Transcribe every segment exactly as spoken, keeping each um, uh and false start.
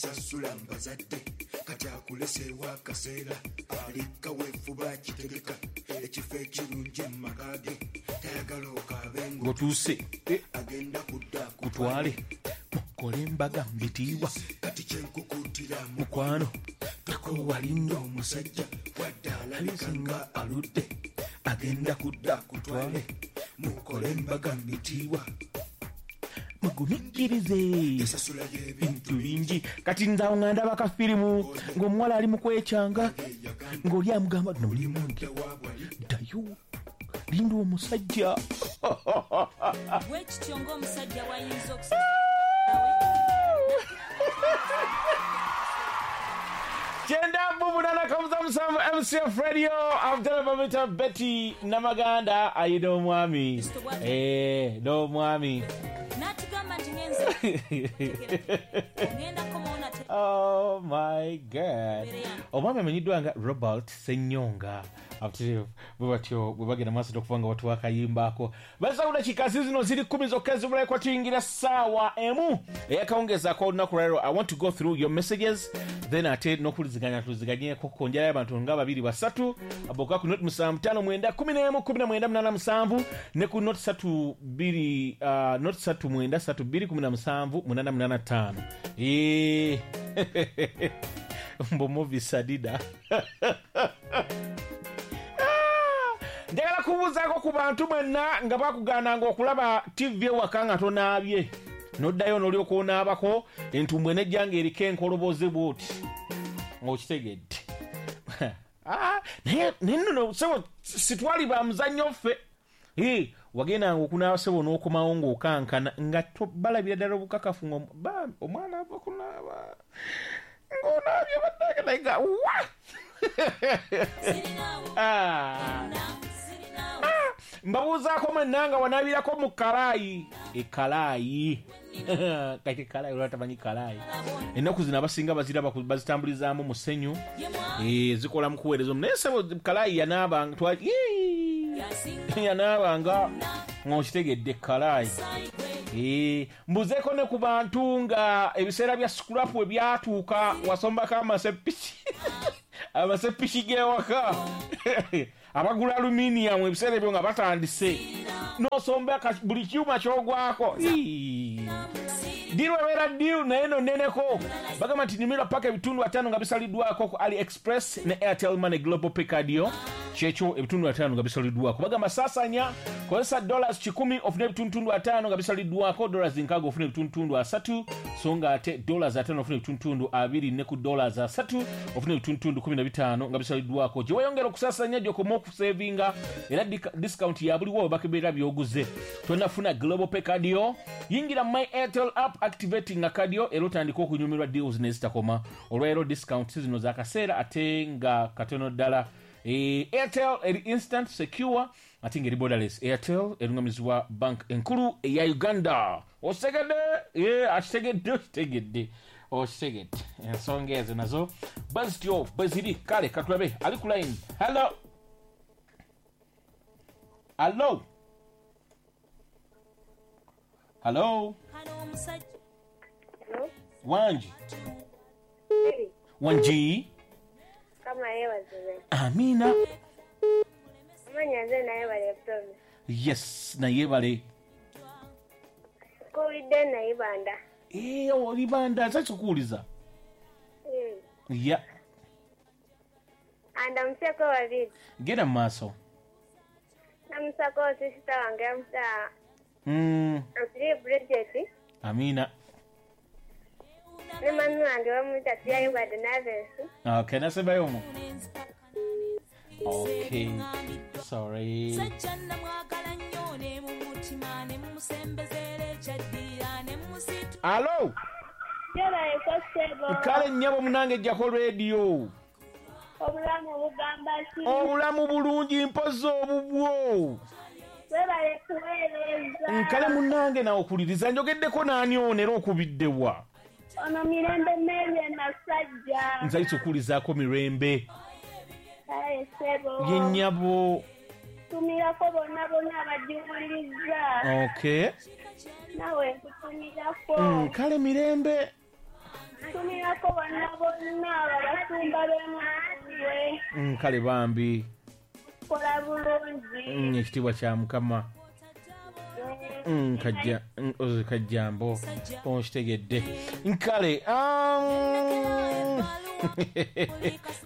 Sasula mbazadde kati akuleseewo akaseera alika weefuba kitegeka ekifo ekirungi mu maka ge tayagala okaabe ng'otuuse agenda kudda kutwale mukole embaga mbitiibwa kati kyenkukuutira mukwano tokowalinda omusajja wadde alabika nga aludde agenda kudda kutwale mukole embaga mbitiibwa mugumiikirize esasula y'ebintu bintu bingi. Kati nze awo nga ndaba kafirimu ng'omuwala ali mu kwekyanga ng'oli amugamba nolimungi ddayo linda omusajja. Bwekityo ng'omusajja wayinza okusa Kyenda mu munaana kamuza musanvu M C F Radio Abdallah Bamita Betty Namaganda ayina omwami eh n'omwami n'atugamba nti ngenze ngenda komaona. Oh my God. Omwami amanyiddwa nga Robert Ssenyonga. Abtirivu bwe batyo bwe bagenda maaso okuva nga batuwa akayimbaako. Basawula kikazi zino ziri kkumi zokka ezibulayo tuyingira ssaawa emu eyakawungezaako olunaku lwaleero. I want to go through your messages then ate n'okuliziganya tuliziganyeko ku njala y'abantu nga babiri basatu aboka ku noti musanvu ttaano mwenda kkumi n'emu kkumi na mwenda munaana musanvu ne ku noti ssatu bbiri uh, noti ssatu mwenda ssatu bbiri kkumi na musanvu munaana munaana ttaano. Eh. Mbo movie sadida. Njagala kubuuzaako ku bantu mwenna nga bakugaananga okulaba T V ewaka nga tonaabye n'oddayo n'olyoka onaabako entumbwe nejja ng'eriko enkoloboze bw'oti ng'okitegedde. Ah, naye naye nno ssebo sitwali ba muzannyo ffe. Eh, wagendanga okunaaba ssebo n'okomawo ng'okankana nga balabira ddala obukakafu nga omwana ava kunaaba ng'onaabye bannange naye nga wa. Ah. Mbabuuzaako mwenna nga wanaabirako mu kalaayi ekalaayi kati kalaayi olwa tamanyi kalaayi. Ennaku zino abasinga baziraba bazitambulizaamu musenyu eh, zikola mu kuweereza naye ssebo kalaayi yanaabanga yanaabanga ng'okitegedde kalaayi. Eh, mbuzeeko ne ku bantu nga ebiseera bya scrap we byatuuka wasombako amasepiki amasepiki g'ewaka abagula aluminium ebiseera ebyo nga batandise n'osomba buli kyuma ky'ogwako. Deal ebeera deal naye no nneneko. Bagamba nti nyumirwa paka ebitundu ataano nga bisaliddwako ku AliExpress ne Airtel Money Global Pay Card yo kyekyo ebitundu ataano nga bisaliddwako. Bagamba saasanya kozesa dollars kikumi ofune ebitundutundu ataano nga bisaliddwako, dollars nkaaga ofune ebitundutundu asatu, so nga ate dollars ataano ofune ebitundutundu abiri ne ku dollars asatu ofune ebitundutundu kumi na bitaano nga bisaliddwako. Gye weeyongera okusaasanya gy'okoma okusevinga era discount ya buliwo bakeberera by'oguze. Tonafuna Global Pay Card yo, yingira My Airtel app activating card yo era otandika okunyumirwa deals nezitakoma. Olwaleero discount zino z'akaseera ate nga katono ddala. E, Airtel eri instant secure ate ng'eri borderless. Airtel erungamizibwa bank enkulu eya Uganda. Okitegedde? E, akitegedde okitegedde okitegedde ensonga ezo nazo bwe zityo bwe ziri. Kale katulabe ali ku line. Hello, hello, hello. Wangi wangi. Amina. Yes, nayebale. Eh, olibanda nsa kukuuliza. Ya. Andamuseko babiri. Genda mu maaso. Namusako sister wange amusa. Mm. Osiri Bridget. Amina. Ne mami wange bamuyita Tiyayo Naves. Okay, nasembayo omwo. Okay, sorry. Hello. Kale nnyabo munange jjako radio. Obulamu bugamba ki? Obulamu bulungi mpozi obubwo. Webale kuweereza. Kale munnange nawe okuliriza njogeddeko naani ono era okubiddewa? Ono Mirembe Mary Nasajja. Nzayise okuwulizaako Mirembe. Kale ssebo. Ye nnyabo. Tumirako bonna bonna abagiwuliriza. Okay. Nawe nkutumirako. Mm, kale Mirembe. Ntumirako bonna bonna abasumba b'emutundwe. Mm, kale bambi. Kola bulungi. Mm, ekitiibwa kya Mukama. Mm, kajja mm, oze kajjambo okitegedde. Nkale um,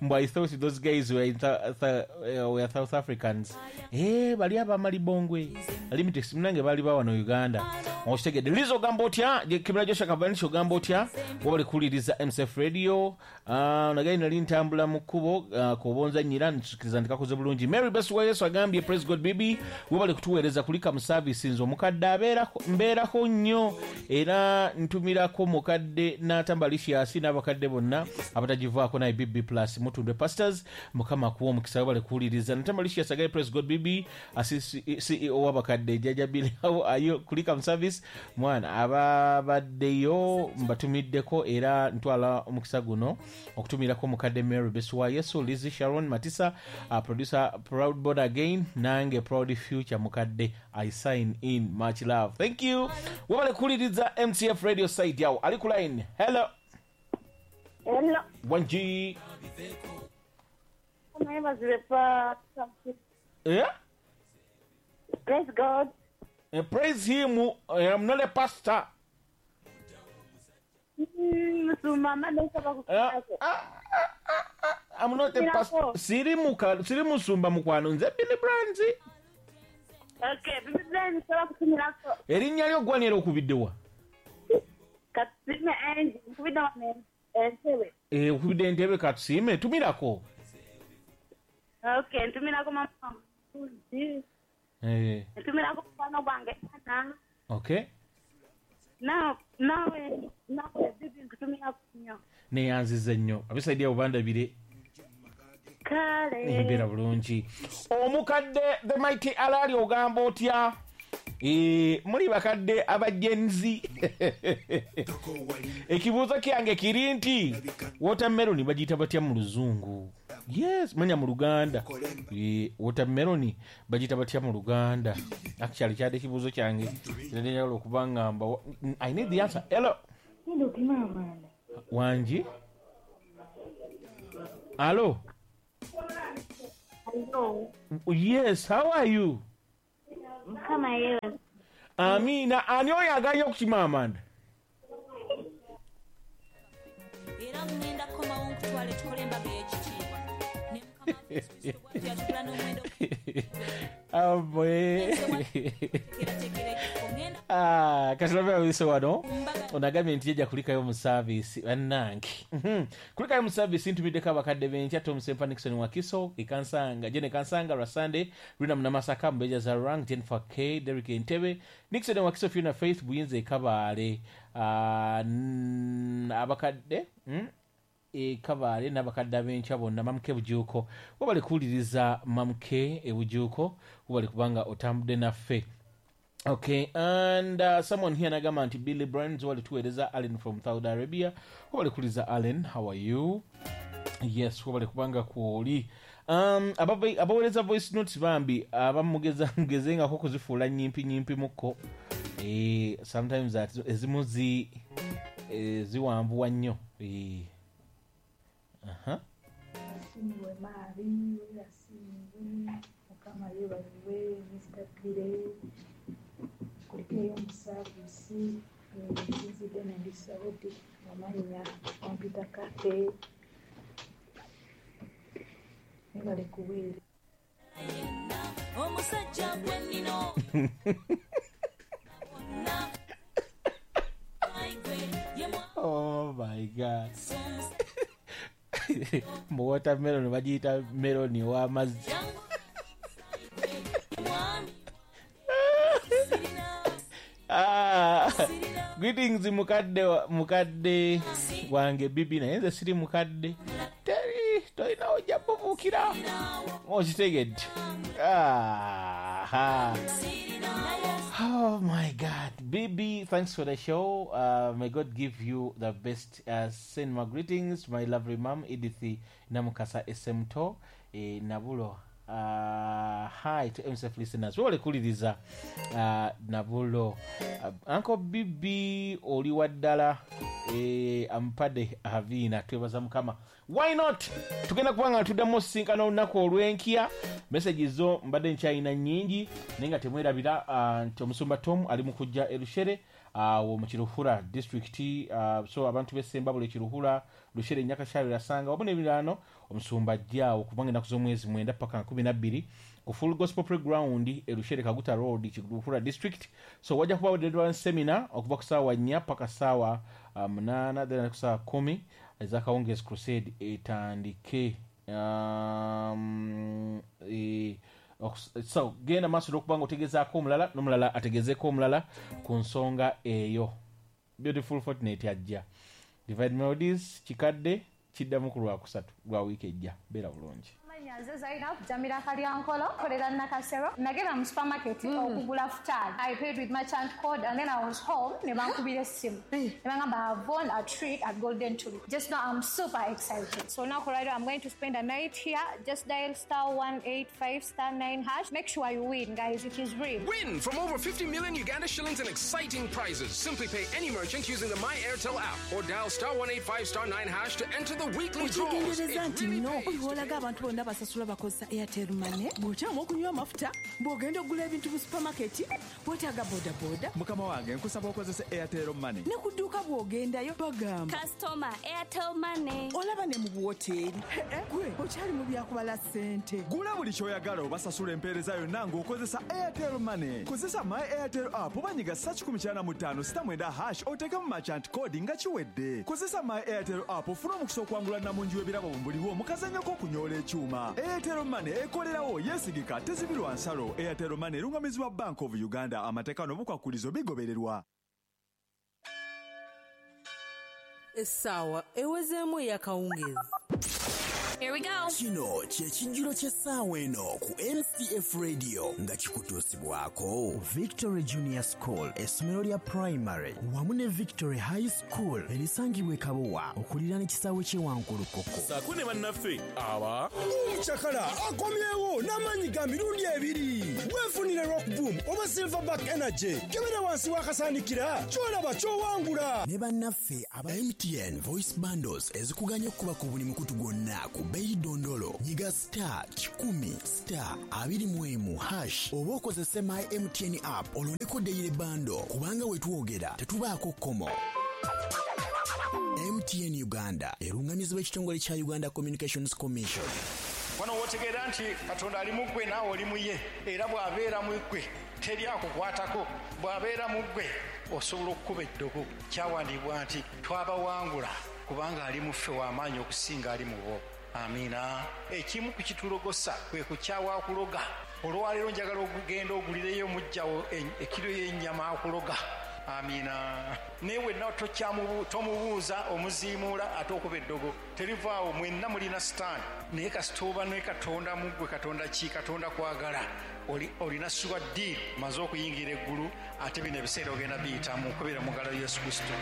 mbu I thought those guys were, in th- th- uh, were South Africans. Eh, bali abamalibongwe Limitex munange bali ba wano Uganda. Okitegedde. Lizo ogamba otya? Kimera Joshua Kabanisho ogamba otya? Wabali kuwuliriza M C F Radio. Ah, nagaye nali ntambula mu kkubo uh, kobonza nyira ntukiriza ndikakoze bulungi. Mary Best wa Yesu agambye praise God bibi wabali kutuweereza kulika mu service nze omukadde abeerako mbeerako nnyo era ntumirako mukadde n'atambalisiasi n'abakadde bonna abatagivaako naye B B plus Mutundwe Pastors. Mukama akuwa omukisa wabali kuwuliriza. Natambalisiasi agambye praise God bibi C E O w'abakadde Jjajja Billy ayo kulika mu service mwana ababaddeyo mbatumiddeko era ntwala omukisa guno okutumirako mukadde Mary Best wa Yesu, Lizzie Sharon Matisa, uh, producer Proud Born Again, nange Proud Future mukadde. I sign in. Much love. Thank you. Wabale kuwuliriza M C F Radio side yawo. Ali ku line. Hello. Hello. Wanji. Yeah? Praise God. Uh, praise him. I am not a pastor. Uh, ah, I'm not a pastor. Siri muka, siri musumba mukwano nze Billy Brands. Okay, Billy Brands nsaba kutumirako. Erinnya lyo ggwanira okubiddewa? Katusiime Angie, nkubidde wano Entebbe. Eh, okubidde Entebbe katusiime, tumirako. Okay, ntumirako mama wange. Eh. Ntumirako mukwano gwange Anna. Okay. Nawe nawe nawe bibi nkutumirako nnyo. Neyanziza nnyo. Abisaidia obandabire. Kale. Embeera bulungi. Omukadde the mighty alali ogamba otya? Eh, muli bakadde abagenzi. Ekibuuzo kyange kiri nti watermelon bagiyita batya mu Luzungu? Yes, manya mu Luganda. Eh, watermelon bagiyita batya mu Luganda? Actually kyadde ekibuuzo kyange. Njagala okuba ngamba I need the answer. Hello. Wanji? Hello. Hello. Yes, how are you? Mukama yewe. Amina, ani oyo aganye okukima amanda? Era ngenda kukomawo nkutwale tukole embaga ey'ekitiibwa. Ne Mukama Yesu Kristo bw'atyo yatugula n'omuwendo. Amwe. Ah, katulabe abiso wano. Onagambye nti yajja kulikayo mu service bannange. Mhm. Kulikayo mu service ntumiddeko abakadde b'enkya Tom Sempa Nixon Wakiso, Ekansanga, Jene Kansanga lwa Sunday, Rina Munamasaka, Mbeja Zarang, Jennifer K, Derrick Entebbe, Nixon Wakiso, Fiona Faith, Buyinza Ekabaale, ah, abakadde, mm? Ekabaale n'abakadde ab'enkya bonna Mamuke Bujuuko. Wabale kuwuliriza Mamuke Bujuuko, wabale kubanga otambudde naffe. Okay, and uh, someone here nagamba nti Billy Brands wali tuweereza Allen from Saudi Arabia. Wabale kuwuliriza Allen, how are you? Yes, wabale kubanga kwoli. Um, abaweereza voice notes bambi abamugeza mugezengako kuzifuula nyimpi nyimpi mukko. Eh, sometimes that ezimu zi eh, ziwanvuwa nnyo. Eh. Aha. Asiimwe Mari, asiimwe Mukama yeebazibwe Mister Pire. Kulikeyo mu service nsinzidde ne ndi Saudi amannya Computer Cafe. Mwebale kuweereza. Omusajja gwe nnina. Oh my God. Mu watermelon bagiyita melon ow'amazzi. Ah, greetings mukadde mukadde wange bibi naye nze siri mukadde. Teri tolina ojja bubuukira. Okitegedde. Ah, oh my God. Bibi, thanks for the show. Uh, may God give you the best. Uh, send my greetings to my lovely mom, Edith Namukasa Esemto, eh, Nabulo Uh, hi to M C F listeners. Wole kuliriza uh, Nabulo. Uh, Uncle Bibi oli waddala eh, ampadde Havina, twebaza Mukama. Why not? Tugenda kubanga tuddamu osisinkana olunaku olw'enkya. Messages zo mbadde nkyalina nnyingi, naye nga temwerabira uh, nti omusumba Tom ali mu kujja e Rushere awo mu Kiruhura district. uh, so abantu b'Essembabule, Kiruhura, Rushere, Nyakashayo, Rasanga wamu n'ebiriraano, omusumba ajja kubanga ennaku z'omwezi mwenda paka nkumi na bbiri ku Full Gospel Playground e Rushere, Kaguta Road, Kiruhura district. So wajja kubawo deliverance seminar okuva ku ssaawa nnya paka ssaawa uh, munaana, then ku ssaawa kumi ez'akawungeezi crusade etandike. um, e, so genda maaso n'okuba nga otegezaako omulala n'omulala ategezeeko omulala ku nsonga eyo. Beautiful Fortnight ajja. Divine Melodies kikadde kiddamu ku lwakusatu lwa wiiki ejja. Beera bulungi. Nze Zainab Jamila Kalyankolo, kolera Nakasero. Nagenda mu supermarket okugula futaali. I paid with merchant code and then I was home ne bankubira essimu. Ne bangamba I've won a trip at Golden Tulip. Just now I'm super excited. So now Colorado, I'm going to spend a night here. Just dial star one eight five star nine hash. Make sure you win, guys. It is real. Win from over fifty million Uganda shillings and exciting prizes. Simply pay any merchant using the My Airtel app or dial star one eight five star nine hash to enter the weekly draws. Okitegeereza nti no olwolaga abantu bonna basasula bakozesa Airtel Money. Bw'okyama okunywa amafuta, bw'ogenda okugula ebintu mu supermarket, weetaaga bodaboda. Mukama wange, nkusaba okozese Airtel Money. Ne ku dduuka bw'ogendayo bagamba Customer Airtel Money. Olaba ne mu buwoteeri. Gwe okyali mu byakubala ssente. Gula buli ky'oyagala obasasula empeereza yonna ng'okozesa Airtel Money. Kozesa My Airtel app oba nyiga star kikumi kyana mu ttaano sita mwenda hash oteekemu merchant code nga kiwedde. Kozesa My Airtel app ofune omukisa okwangula nnamungi w'ebirabo mu buliwo mu kazannyo k'okunyoola ekyuma. Airtel Money ekolerawo, yeesigika, tezibirwa nsalo. Airtel Money erungamizibwa Bank of Uganda. Amateeka n'obukwakulizo bigobererwa. Essaawa ewezeemu ey'akawungeezi. Here we go. Kino kye kijjulo ky'essaawa eno ku M C F Radio nga kikutuusibwako Victory Junior School, essomero lya primary wamu ne Victory High School erisangibwa e Kabowa okuliraana ekisaawe ky'e Wankulukuku. Saako ne bannaffe aba Omucakala akomyewo n'amaanyi ga mirundi ebiri. Weefunire Rock Boom oba Silverback Energy. Kebera wansi w'akasaanikira ky'olaba ky'owangula. Ne bannaffe aba M T N Voice Bundles ezikuganya okukuba ku buli mukutu gwonna ku bbeeyi dondolo. Nyiga star kikumi star abiri mu emu hash oba okozese My M T N app olondeko daily bundle, kubanga we twogera tetubaako kkomo. M T N Uganda erungamizibwa ekitongole kya Uganda Communications Commission. Wano wotegeera nti Katonda ali mu ggwe, naawe oli mu ye, era bw'abeera mu ggwe teri akukwatako. Bw'abeera mu ggwe osobola okukuba eddogo. Kyawandiibwa nti twabawangula kubanga ali mu ffe w'amaanyi okusinga ali mu bo. Amiina. Ekimu ku kitulogosa kwe kukyawa akuloga. Olwaleero njagala okugenda ogulireyo mujjawo ekiro y'ennyama akuloga. Amiina. Naye wenna tomubuuza, omuziimuula ate okuba eddogo terivaawo. Mwenna mulina sitaani, naye kasita oba ne Katonda mu ggwe. Katonda ki? Katonda kwagala. Olina sure deal, maze okuyingira eggulu, ate bino ebiseera ogenda biyitamu okubeera mu ngalo Yesu Kristo.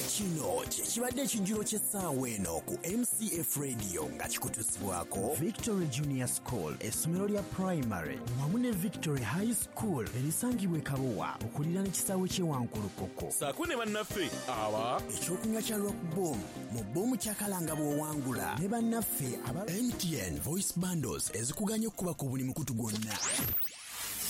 Kino kye kibadde ekijjulo ky'essaawa eno ku M C F Radio nga kikutuusibwako Victory Junior School, essomero lya primary wamu ne Victory High School erisangibwa e Kabowa okuliraana ekisaawe ky'e Wankulukuku. Saako ne bannaffe aba ekyokunywa kya Rock Boom mu Boom Cakala nga bw'owangula, ne bannaffe aba M T N Voice Bundles ezikuganya okukuba ku buli mukutu gwonna.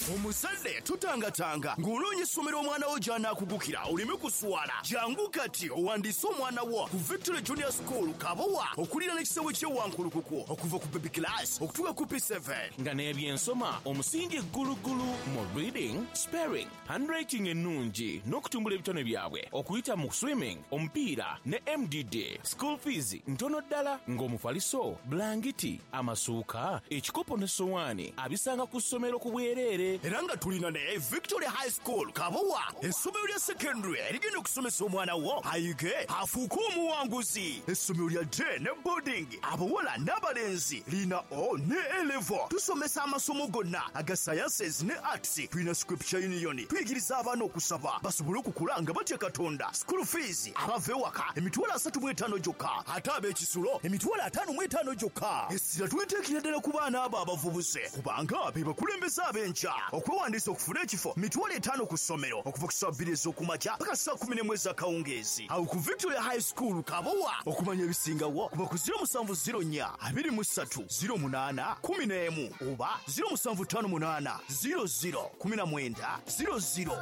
Omuzadde tutangatanga ng'onoonya essomero omwana wo gy'anaakugukira oleme kuswala. Jangu kati owandiise omwana wo ku Victory Junior School Kabowa okuliraana ekisaawe ky'e Wankulukuku, okuva ku baby class okutuuka ku P seven. Nga n'ebyensoma omusingi ggulugulu mu reading, spelling, handwriting ennungi n'okutumbula ebitone byabwe okuyita mu swimming, omupiira ne M D D. School fees ntono ddala, ng'omufaliso, bulangiti, amasuuka, ekikopo ne sowaani abisanga ku ssomero ku bwereere. Era nga tulina ne Victory High School Kabowa, essomero lya secondary erigenda okusomesa omwana wo ayige afuuke omuwanguzi. Essomero lya day ne boarding, abawala n'abalenzi, lina O ne A level. Tusomesa amasomo gonna aga sciences ne arts. Tulina Scripture Union, tuyigiriza abaana okusaba basobole okukula nga batya Katonda. School fees abava ewaka emitwalo asatu mu etaano gyokka, ate ab'ekisulo emitwalo ataano mu etaano gyokka. Essira tuliteekera ddala ku baana abo abavubuse, kubanga be bakulembeze ab'enkya. Okwewandiisa okufuna ekifo mitwalo etaano ku ssomero okuva ku ssaawa bbiri ez'okumakya paka ssaawa kumi n'emu ez'akawungeezi. Awo ku Victoria High School Kabowa. Okumanya ebisingawo kuba ku ziro musanvu ziro nnya abiri mu ssatu ziro munaana kumi n'emu oba ziro musanvu ttaano munaana ziro ziro kumi na mwenda ziro ziro.